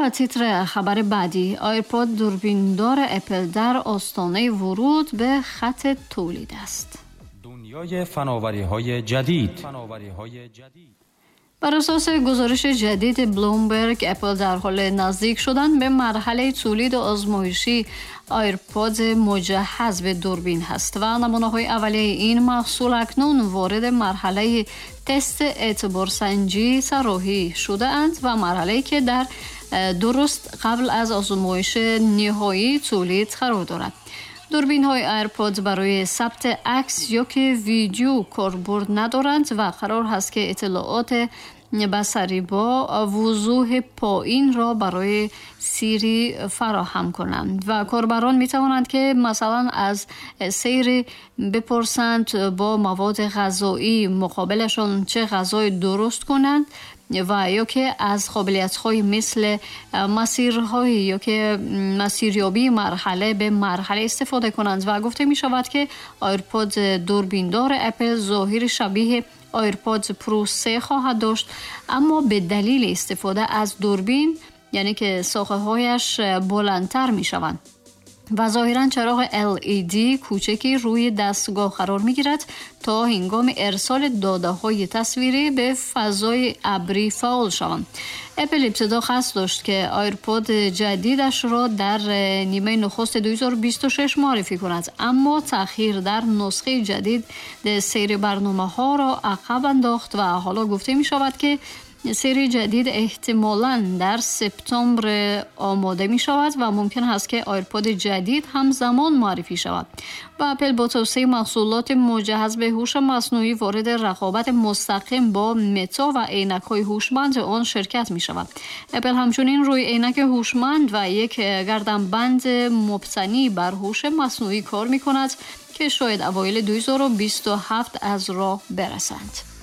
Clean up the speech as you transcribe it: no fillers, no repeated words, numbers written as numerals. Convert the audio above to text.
Ва титр хабари баъдӣ: AirPod дурбиндори Apple дар остонаи вуруд ба хати тулид аст. Дунёи фановариҳои ҷадид. Бар асоси гузориши ҷадиди Bloomberg, Apple дар ҳоли наздик шудан ба марҳалаи тулиди озмоишии AirPod муҷаҳҳаз ба дурбин ҳаст ва намунаҳои аввалияи ин маҳсул акнун вориди марҳалаи тест эътиборсанҷӣ тарроҳӣ шудаанд ва марҳалае ки дар дуруст қабл аз озмоиши ниҳоии тулид қарор дорад. Дурбинҳои AirPods барои сабти акс ё ки видео корбурд надоранд ва қарор ҳаст ки иттилооти басарӣ бо вузӯҳи поинро барои Siri фароҳам кунанд ва корбарон метавонанд ки масалан аз Siri бипурсанд бо маводи ғазоӣ муқобилашон чӣ ғазое дуруст кунанд ва ё ки аз қобилиятҳои мисли масирҳои ё ки масирёбии марҳала ба марҳала истифода кунанд. Ва гуфта мешавад ки AirPod дурбиндори Apple зоҳири шабеҳи AirPods Pro 3 хоҳад дошт, аммо ба далели истифода аз дурбин, яъне ки соқаҳояш баландтар мешаванд ва зоҳиран чароғи LED кӯчаки рӯи дастгоҳ қарор мегирад то ҳингоми ирсоли додаҳои тасвирӣ ба фазои абрӣ фаъол шаванд. Apple ибтидо қасд дошт ки AirPod ҷадидашро дар нимаи нухусти 2026 муаррифӣ кунад, аммо таъхир дар нусхаи ҷадид сери барномаҳоро ақаб андохт ва ҳоло гуфта мешавад ки сери ҷадид эҳтимолан дар септембр омода мешавад ва мумкин ҳаст ки AirPod ҷадид ҳамзамон муаррифӣ шавад. Ва Apple бо тавсеаи маҳсулоти муҷаҳҳаз ба ҳуш маснӯӣ вориди рақобати мустақим бо Мета ва эйнакҳои ҳушманди он ширкат мешавад. Apple ҳамчунин рӯи эйнаки ҳушманд ва як гарданбанд мубтанӣ бар ҳуши маснӯӣ кор мекунад ки шояд авоили 2027 аз роҳ бирасанд.